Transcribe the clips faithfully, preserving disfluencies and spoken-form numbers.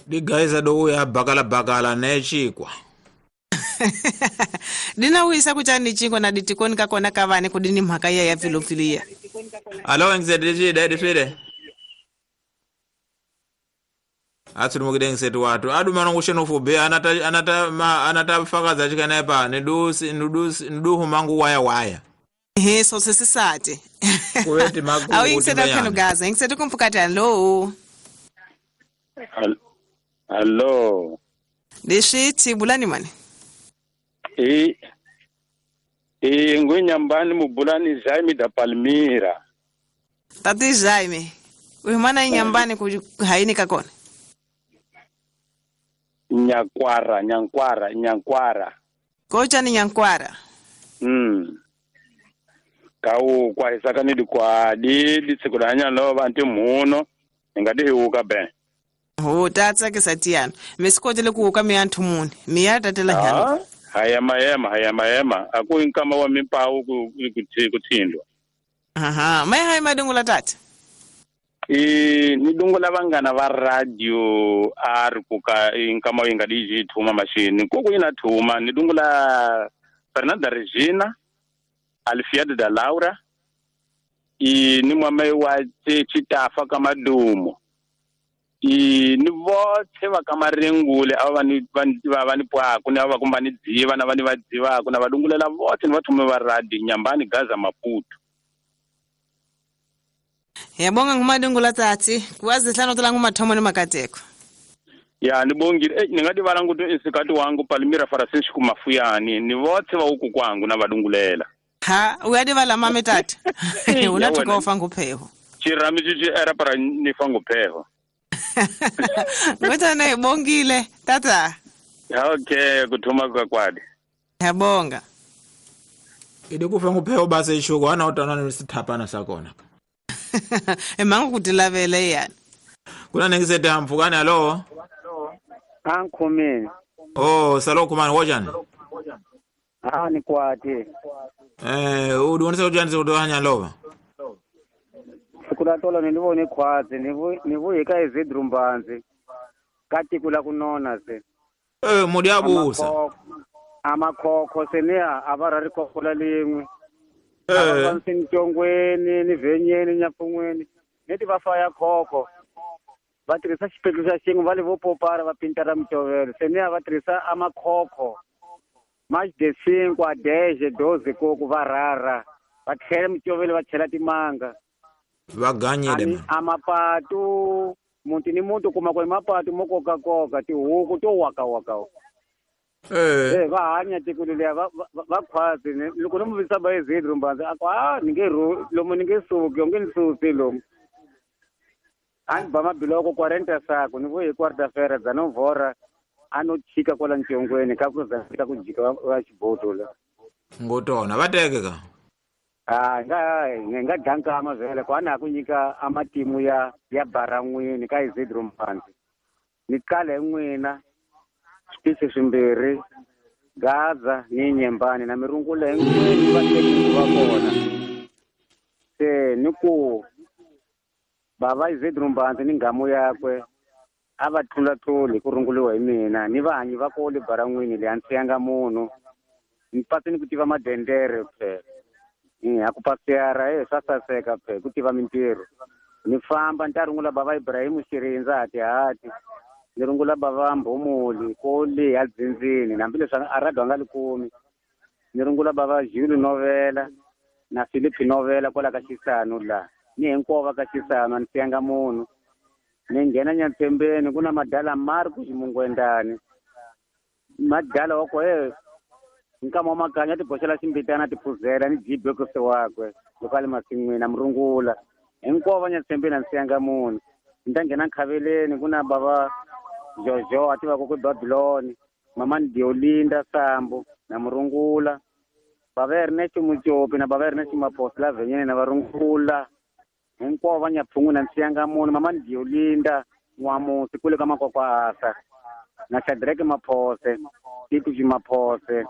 Digaisa do ya bakala bakala ne chikwa. Dina wisa kuchani chikwa na ditikoni kakona kavane kudini mhaka ya ya filofilia. Alo ngizediji dadi fide. Atsuri mukide ngisetu watu. Adu mano ngusheno fube anata anata ma anata fakaza chikana pa nidusi nidusi niduhu mangu waya waya. He so sisate. Kuweti magu. Awu ngisetu khano gaza ngisetu kumfukati alo. Hello. Deshiti bulani mane. E e ngwenyambani mubulani Jaime da Palmira. Tati Jaime. Uyimana inyambani ku haini kakona. Nyakwara, nyankwara, nyankwara. Kocha ni nyankwara. Mm. Kau kwa isaka ni kwa di di sikulanya lo bantu muno ngadi huka ben. Ho tatsa ke satiana. Mesikotele ku ka mianthu muni. Miya tatela nyana. Haya mayema, haya mayema. Aku inkama wa mimpawu ku kuthindwa. Aha, mai hai madungula tata. E ni dungula vangana va radio ar kuka inkama ingadi thuma machine. Koko ina thuma ni dungula Fernanda Regina, Alfiado da Laura. E ni mwamai wa Chitafa kama dumo. I ni vothe va ka maringule a va ni va va ni pwaku ni va kumba ni dziva na va ni va dzivaka na va dungulela vothe ni va thume va radio Nyambani Gaza Maputo. Yabonga ngumadungula tsatsi kuwazi hlano tola ngumathomo ni makateko. Ya ni bongile eh ni nga divala nguto isikati wangu Palmira Francisco Mafuyani ni vothe va uku kwangu na va dungulela. Ha uyadivala mame tata. Unathuka ufa ngupheho. Chirami chichi era para ni fa ngupheho. Ngotana ibongile tata. Okay kuthuma kwa kwadi. Yabonga. Ide kufa ngupheho base ishuko ana utana nisithapana sakona. Emangu kutilavele yana. Kuna nengisete hamfukani alo. Ankhumini. Oh salo kumani wojani. Ah ni kwati. Eh udonisa ujanise udohanya lova. Sikula tolo nilivone khwazi nivu nivu ka izidrumbanzi kati kula kunona se. Eh mudiabusa. Amakhokho seniya abarari khokhola lingwe. Eh abansintongweni ni venyeni nyapungweni neti vafaya khokho. Va tirhisa xipetlu xa xin'we va le vo popara va pintara mitovelo seniya va tirhisa amakhokho. Mais de cinco a dez, doze coco va rara. Va tlhela mitovelo va chela timanga. Va ganyile amapatu muti ni muti kuma ku mapatu mo koka koka tihuku to waka waka. Eh eh va hanya tiko leliya va va khwazi loko no muvisa ba izidro mbanzi a ah ni nge lomu ni nge suki onge ni susi lomu. Ani ba mabiloko quarenta sako ni vuyi quarta feira dza no vora ano chika kwala ntshongweni ka ku za ka ku jika va xiboto la. Ngotona va teke ka. Ah nga nga danka amavele kwana kunyika amatimu ya ya baran'wini ka izidro mbanzi. Ni kale n'wina switichi swimbirhi Gaza ni Nyembani na mirungula hinkwenu va teki va kona. Se ni ku bava Izidro Mbanzi ni nghamu yakwe a va tlulatluli ku runguliwa hi mina ni vahanyi va kole baran'wini leyi a ni siyanga munhu ni pasi ni ku tiva madendere phela. A ku pasiyara e swa saseka phela ku tiva mintirho. Ni famba ni ta rungula bava Ibrahim Xirindza hati hati. Ni rungula bava Mbhomoli kole ya dzindzini hambileswi a radio a nga li kumi. Ni rungula bava Jules Novela na Philip Novela kwala ka Xisano la. Ni hinkwavo va ka Xisano a ni siyanga munhu. Ni nghena Nyatsembeni ku na madala Marcus Mungwendani. Madala wa ko e nkama wa makanya ti boxela ximbitana ti phuzela ni jibekose wakwe loko a le masin'wini na murungula. Hinkwavo va Nyatsembeni a ni siyanga munhu. Ni ta nghena Nkhaveleni ku na bava Jojo a tivaka ku Babylon, mamani Diolinda Sambo na murungula. Bava Ernest Mujopi na bava Ernest Maposi la Venyeni na varungula. Hinkwavo va Nyaphungwini a ni siyanga munhu. Mamani Diolinda N'wamusi kule ka Makwakwasa na Shadrack Maphose, Titi Maphose.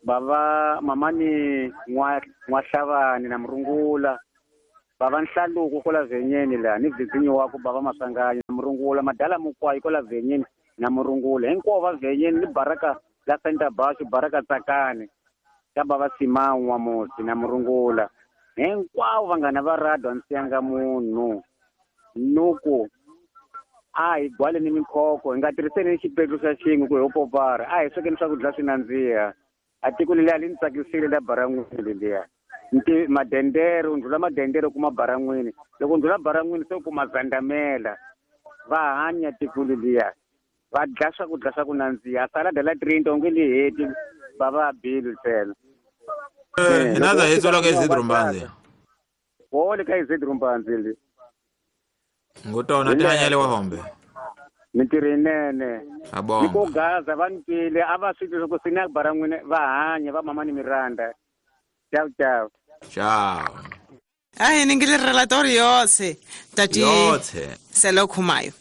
Bava mamani N'wa N'waxavani na murungula. Bava Nhlaluko kwala Venyeni la ni Vizinyo wako bava Maswanganyi na murungula. murungula madala mukwayi kola venyeni na murungula hinkwavo va venyeni ni baraka la Center Bashu baraka tsakani ka bava Simanwa musi na murungula hinkwavo vanghana va radio a ni siyanga munhu nuku a hi gwaleni mikhoko hi nga tirhiseni xipetlu xa xin'we ku hi popara a hi swekeni swakudya swi nandziha a tiko leliya li ni tsakisile la baran'wini leliya nti madendere u ndlhula madendere u kuma baran'wini loko u ndlhula baran'wini se u kuma zandamela va hanya tiko leliya va dya swakudya swa ku nandziha salada la trinta u nge li heti va va bili ntsena hina za hitsola ka Isidro Mbanzi wole ka Isidro Mbanzi li ngutona tihanyele wa hombe mintirho yinene abonga ni ko gaza va ni twile a va swi twi ku sina baran'wini va hanya va mama ni miranda ciao ciao ciao a hi ningile relatório yotse tati yotse selo khumayo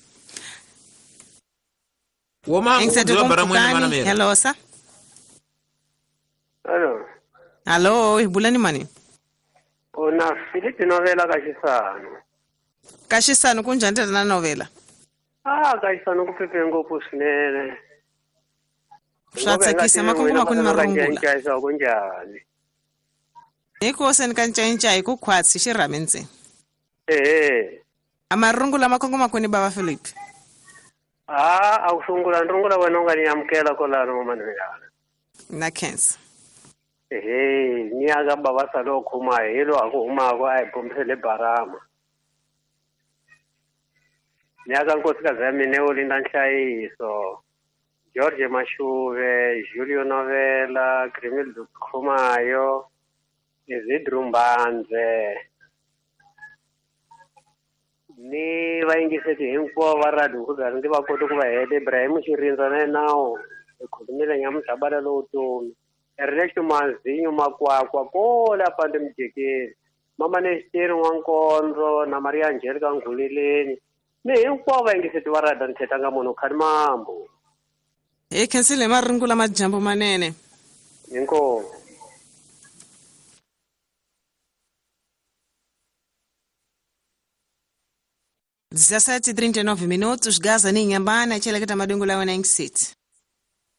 woma ngizwa baran'wini mana mira hello sa Hello. Hello, hi bulani mani Ona Philip novela ka Xisano. Ka Xisano kunjhani tata na novela? Ah, ka Xisano ku phephe ngopfu swinene. Swa tsakisa makungu makuni marungula. Ncaisa kunjhani? Hi ku seni ka ncayincai ku khwatsi xirhami ntsena. Ehe. A marungula makungu makuni bava Philip. Ah, a ku sungula rungula wena u nga ni amukela kwalano mamanelana. Na khensa. Ehe, ni ya ka bava salo khuma hi lo a ku humaka a hi bombisele barama. Ni ya ka nkosikazi ya mina wo Linda Nhlayiso, George Mashuve, Julio Novela, Grimildo Khumayo, Isidro Mbanze. Ni vayingiseti hinkwavo va radio ku ndzi va kota ku va heta Ibrahim Xirindza na yena hi khulumile nyamutlhabala lowu tomi. Ernesto Mazinho Makwakwa kola pande mujekeni mama Nesteri N'wankondzo na Maria Angelica Nghuleleni ni hinkwavo vayingiseti va radio ni thetanga munhu khani mambo. Hi khensile marungula majambu manene. Inkomu. dezessete e trinta e nove minutos, Gaza ni Inhambane, tcheleketa madungula wena City.